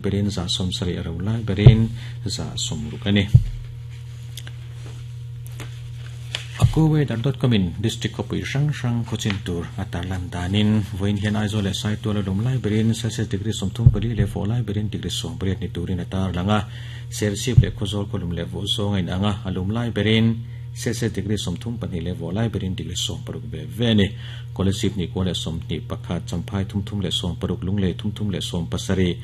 Berin 70% a ro lai berin 60% a ni. AccuWeather.com in District khawpui hrang hrang khawchin tur a tarlan danin vawiin hian Aizawl leh Saitual a lum lai berin Celsius degree 34 leh fawh lai berin degree 18 ni turin a tarlang a. Serchhip leh Khawzawl khaw lum leh vawh zawng a inang a, a lum lai berin Celsius degree 32 leh vawh lai berin degree 60 ve ve a ni. Kolasib 21, Champhai 36, Lunglei 37,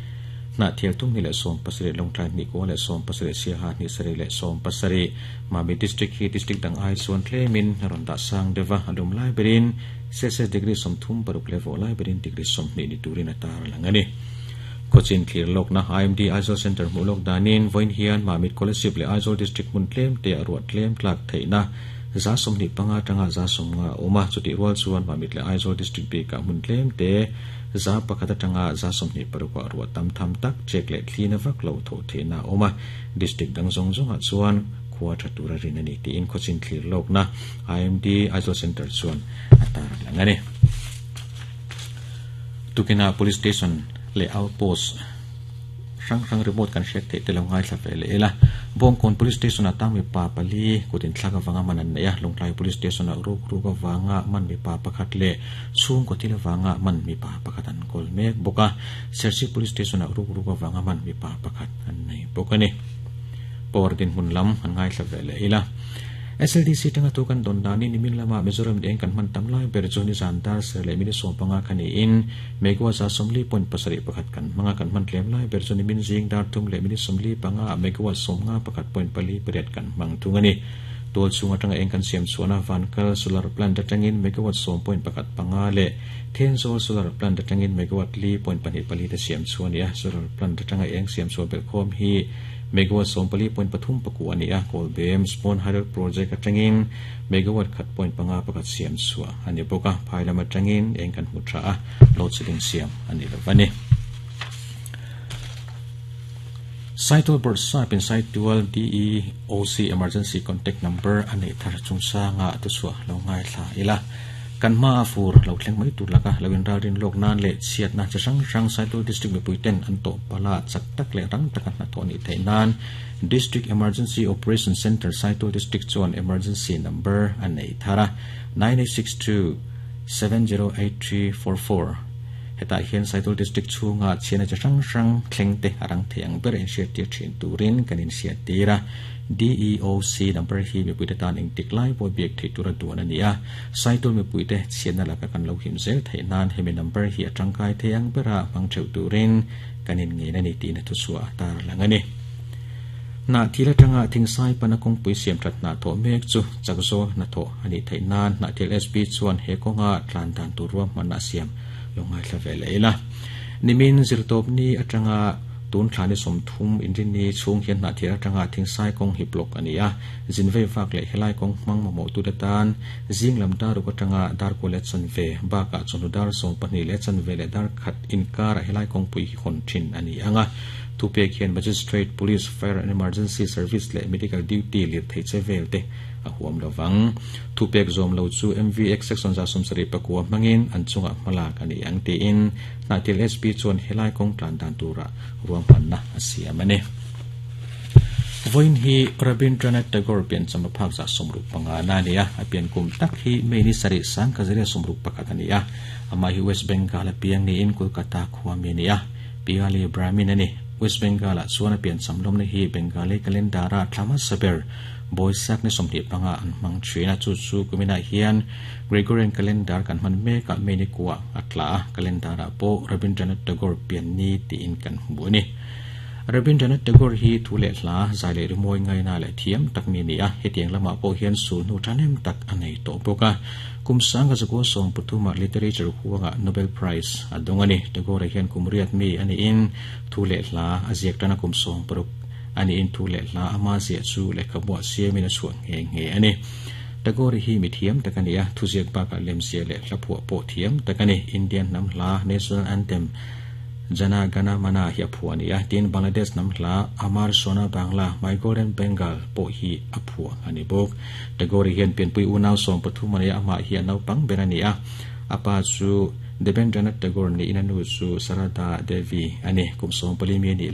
Hnahthial 37, Lawngtlai 27, Siaha 7, Mami District hi District dang ai chuan tlemin a rawn dah sang deuh a, a lum lai berin Celsius degree 36 leh vawh lai berin degree 20 ni turin a tar a lang a ni. Khawchin thlir lawkna IMD Aizawl Centre hmuh lawk danin vawiin hian Mamit Kolasib leh Aizawl District hmun tlem te a ruah tlem tlak theihna 25 atanga 50 a awm a, chutih rual chuan Mamit leh Aizawl District bikah hmun tlem te 100 atanga 26 ah ruah tam tham tak chek leh thlina vak lo thawh theihna a awm a, District dang zawng zawngah chuan khua tha tura rin a ni tiin khawchin thlir lawkna IMD Aizawl Centre chuan a tar lang a ni. Tukinah Police Station leh Outpost hrang hrang remote kan hriat theih te lo ngaithla ve leh ila. Bawngkawn Police Station ah tang mipa pali kut inthlak avanga man an neih a, Lawngtlai Police Station ah ruk ruk avanga man mipa pakhat leh chhungkaw thil avanga man mipa pakhat an kawl mek bawk a, Serchhip Police Station ah ruk ruk avanga man mipa pakhat an nei bawk a ni. Power dinhmun lam an ngaithla ve leh ila. SLDC tanga thu kan dawn danin nimin lama Mizoram eng kan hman tam lai ber chu nizan dar ser leh minute 15 kha niin megawatt 40.71 kan hmang a, kan hman tlem lai ber chu nimin zing dar 3 leh minute 45 ah megawatt 51.48 kan hmang thung a ni. Tual chhung atanga eng kan siam chhuahna Vankal Solar Plant atangin megawatt 10.15 leh Thenzawl Solar Plant atangin megawatt 4.24 te siam chhuah a ni a, Solar Plant atanga eng siam chhuah belhkhawm hi megawatt 14.39 a ni a, Kawlbem Spawn Hydel Project atangin megawatt 1.51 siam chhuah a ni bawk a, phai lam atangin eng kan hmu tha a, load shedding siam a ni lo a ni. Saitual Bawrhsap in Saitual DEOC Emergency Contact Number a neih thar chungchanga thuchhuah lo ngaithla ila. Kan hma a fur lo thleng mai tur laka lo inralrin lawk nan leh chhiatna chi hrang hrang Saitual District mipui ten an tawh pala chak tak leh rang taka hnathawh nih theih nan District Emergency Operation Centre Saitual District chuan Emergency Number a nei thar a, 9862 708344. Hetah hian Saitual District chhunga chhiatna chi hrang hrang thleng te a rang thei ang ber inhriattir thin turin kan inhriattir a. DEOC number hi mipuite tan engtik lai pawh biak theih tura duan a ni a. Saitual mipuite chhiatna laka kan lo him zel theih nan hemi number hi a tangkai thei ang bera hmang theuh turin kan inngein a ni tiin a thuchhuah a tarlang a ni. Hnahthil atanga Thingsai pana kawngpui siam that hna thawh mek chu chak zawl hnathawh a nih theih nan Hnahthil SP chuan he kawnga tlan dan tur ruahmanna a siam lo ngaithla ve leh ila. Nimin zirtawpni atanga tun thla ni 30 inrinni chhung hian Hnahthil atanga Thingsai kawng hi block a ni a, zin vei vak leh helai kawng hmang mamawhtute tan zing lam dar ruk atanga dar kua leh chanve bakah chawhnu dar 12 leh chanve leh dar khat inkarah helai kawngpui hi hawn thin a ni ang a. Thupek hian Magistrate, Police, Fire and Emergency Service leh Medical Duty lirthei che vel te a huam lo vang. Thupek zawm lo chu MVX Section 79 hmangin an chungah hmalak a ni ang tiin Hnahthil SP chuan helai kawng tlan dan tura ruahmanna a siam a ni. Vawiin hi Rabindranath Tagore piancham a phak 65 na a ni a, a pian kum tak hi May ni sarih 1961 a ni a. Amah hi West Bengal a piang niin Kolkata khua mi a ni a. Piyali Brahmin a ni. West Bengal-ah chuan a piancham lawmna hi Bengali calendar-a thla hmasa ber Boisak ni 25 an hmang thin a, chu chu kuminah hian Gregorian calendar kan hman mekah May ni kuah a tla a, calendar-ah pawh Rabindranath Tagore pian ni tiin kan hmu a ni. Rabindranath Tagore hi thu leh hla, zai leh rimawi ngaina leh thiam tak mi a ni a, hetiang lamah pawh hian sulhnu thahnem tak a nei tawh bawk a. Kum sanga zakua 13 ah Literature huangah Nobel Prize a dawng a ni. Tagore hian kum riat mi a niin thu leh hla a ziak tan a kum 60 a niin thu leh hla ama ziah chu lehkhabuah siamin a chhuah nghe nghe a ni. Tagore hi mi thiam tak a ni a, thuziak bakah lemziah leh hla phuah pawh thiam tak a ni. Indian hnam hla National Anthem Jana Gana Mana hi a phuah a ni a, tin Bangladesh hnam hla Amar Shona Bangla, My Golden Bengal, pawh hi a phuah a ni bawk. Tagore hian pianpui unau 13 a nei a, amah hi a naupang ber a ni a. A pa chu Debendranath Tagore ni ina nu chu Sarada Devi ani. Kum 14 mi ni.